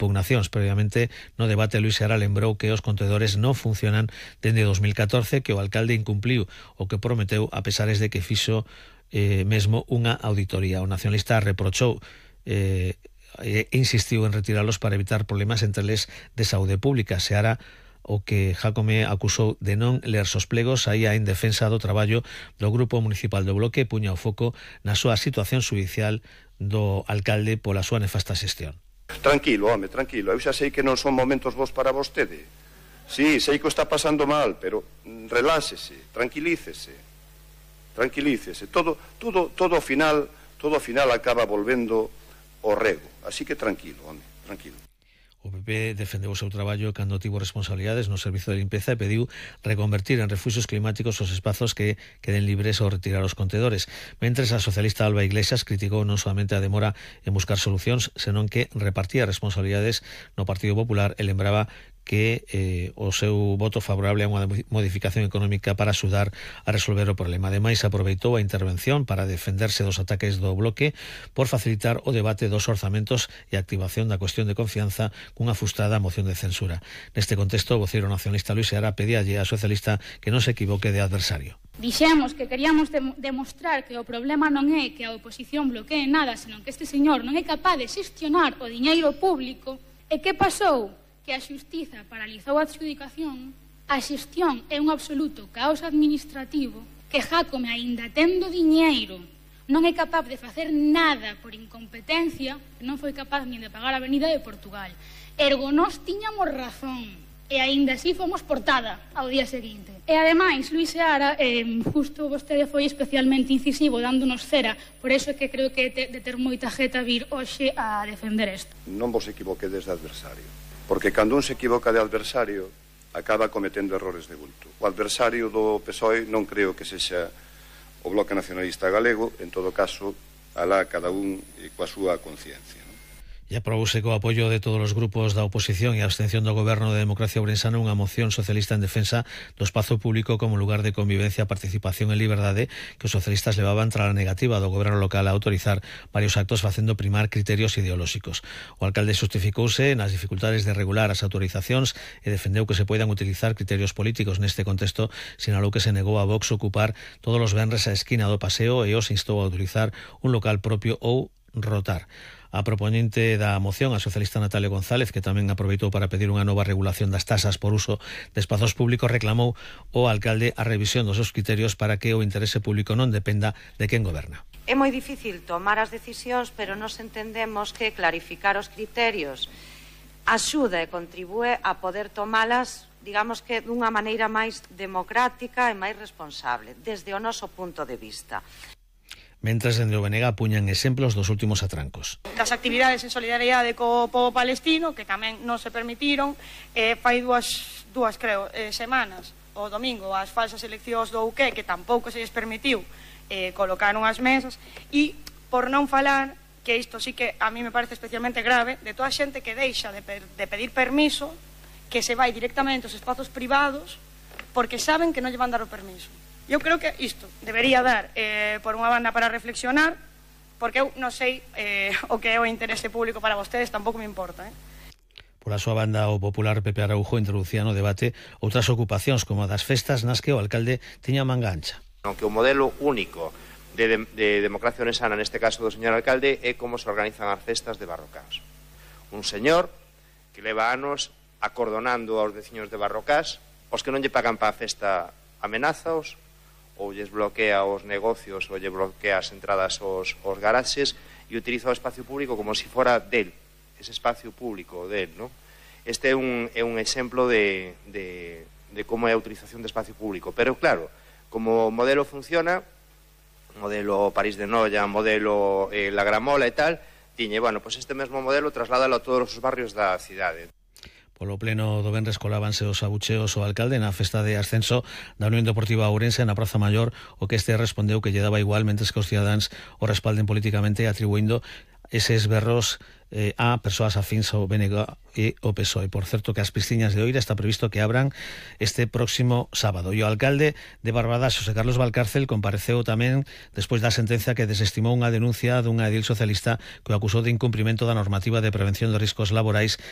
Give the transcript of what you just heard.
impugnacións. Previamente, no debate, Luís Seara lembrou que os contedores non funcionan dende 2014, que o alcalde incumpliu o que prometeu a pesares de que fixo mesmo unha auditoría. O nacionalista reprochou e insistiu en retiralos para evitar problemas entre eles de saúde pública. Seara, o que Jácome acusou de non ler os plegos, saía en defensa do traballo do Grupo Municipal do Bloque e puña o foco na súa situación xudicial do alcalde pola súa nefasta xestión. Tranquilo, home, tranquilo. Eu xa sei que non son momentos vos para vostede. Sí, sei que o está pasando mal, pero reláxese, tranquilícese. Todo ao final acaba volvendo ao rego. Así que tranquilo, home, tranquilo. O PP defendeu o seu traballo cando tivo responsabilidades no servizo de limpeza e pediu reconvertir en refuxios climáticos os espazos que queden libres ao retirar os contedores. Mentres a socialista Alba Iglesias criticou non solamente a demora en buscar solucións, senón que repartía responsabilidades no Partido Popular e lembraba que o seu voto favorable a unha modificación económica para axudar a resolver o problema. Ademais, aproveitou a intervención para defenderse dos ataques do Bloque por facilitar o debate dos orzamentos e a activación da cuestión de confianza cunha frustrada moción de censura. Neste contexto, o voceiro nacionalista Luís Seara pedíalle á socialista que non se equivoque de adversario. Dixemos que queríamos demostrar que o problema non é que a oposición bloquee nada, senón que este señor non é capaz de xestionar o diñeiro público. E que pasou? Que a xustiza paralizou a adxudicación, a xestión é un absoluto caos administrativo, que Jácome, aínda tendo diñeiro, non é capaz de facer nada por incompetencia, non foi capaz nin de pagar a Avenida de Portugal. Ergo, nós tiñamos razón, e aínda así fomos portada ao día seguinte. E ademais, Luís Seara, justo vostede foi especialmente incisivo dándonos cera, por eso é que creo que de ter moita jeta vir hoxe a defender isto. Non vos equivoquedes de adversario. Porque cando un se equivoca de adversario acaba cometendo errores de bulto. O adversario do PSOE non creo que sexa o Bloque Nacionalista Galego, en todo caso, alá cada un coa súa conciencia. E aprobouse co apoio de todos os grupos da oposición e a abstención do Goberno de Democracia Ourensana unha moción socialista en defensa do espazo público como lugar de convivencia, participación e liberdade que os socialistas levaban tras a negativa do Goberno local a autorizar varios actos facendo primar criterios ideolóxicos. O alcalde justificouse nas dificultades de regular as autorizacións e defendeu que se poidan utilizar criterios políticos. Neste contexto, sinalou que se negou a Vox ocupar todos os venres a esquina do paseo e os instou a utilizar un local propio ou rotar. A proponente da moción, a socialista Natalia González, que tamén aproveitou para pedir unha nova regulación das tasas por uso de espazos públicos, reclamou ao alcalde a revisión dos seus criterios para que o interese público non dependa de quen goberna. É moi difícil tomar as decisións, pero nos entendemos que clarificar os criterios axuda e contribúe a poder tomalas, digamos que dunha maneira máis democrática e máis responsable, desde o noso punto de vista. Mentres, dende o BNG apuñan exemplos dos últimos atrancos. Das actividades en solidariedade co povo palestino, que tamén non se permitiron, fai dúas semanas, o domingo, as falsas eleccións do UK, que tampouco se lles permitiu colocar unhas mesas, e por non falar, que isto sí que a mí me parece especialmente grave, de toda a xente que deixa de pedir permiso, que se vai directamente aos espazos privados, porque saben que non lle van dar o permiso. Eu creo que isto debería dar por unha banda para reflexionar, porque eu non sei o que é o interese público para vostedes, tampouco me importa. Pola súa banda, o popular Pepe Araujo introducía no debate outras ocupacións como a das festas nas que o alcalde tiña manga ancha. Aunque o modelo único de democracia ourensana, neste caso do señor alcalde, é como se organizan as festas de Barrocás. Un señor que leva anos acordonando aos veciños de Barrocás, os que non lle pagan para a festa amenazaos, ou lles bloquea os negocios ou lle bloquea as entradas aos garaxes e utiliza o espacio público como se fora del, ese espacio público del, ¿no? Este é un exemplo de como é a utilización de espacio público, pero claro, como o modelo funciona, modelo París de Noia, modelo La Gramola e tal, tiñe, bueno, pues este mesmo modelo trasládalo a todos os barrios da cidade. Polo pleno do venres colábanse os abucheos ao alcalde na festa de ascenso da Unión Deportiva Ourense na Praza Maior, o que este respondeu que lle daba igual mentres que os cidadáns o respalden políticamente, atribuindo eses berros a persoas afíns ao BNG e ao PSOE. Por certo, que as piscinas de Oira está previsto que abran este próximo sábado. E o alcalde de Barbadas, Xosé Carlos Valcárcel, compareceu tamén despois da sentencia que desestimou unha denuncia dunha edil socialista que o acusou de incumprimento da normativa de prevención de riscos laborais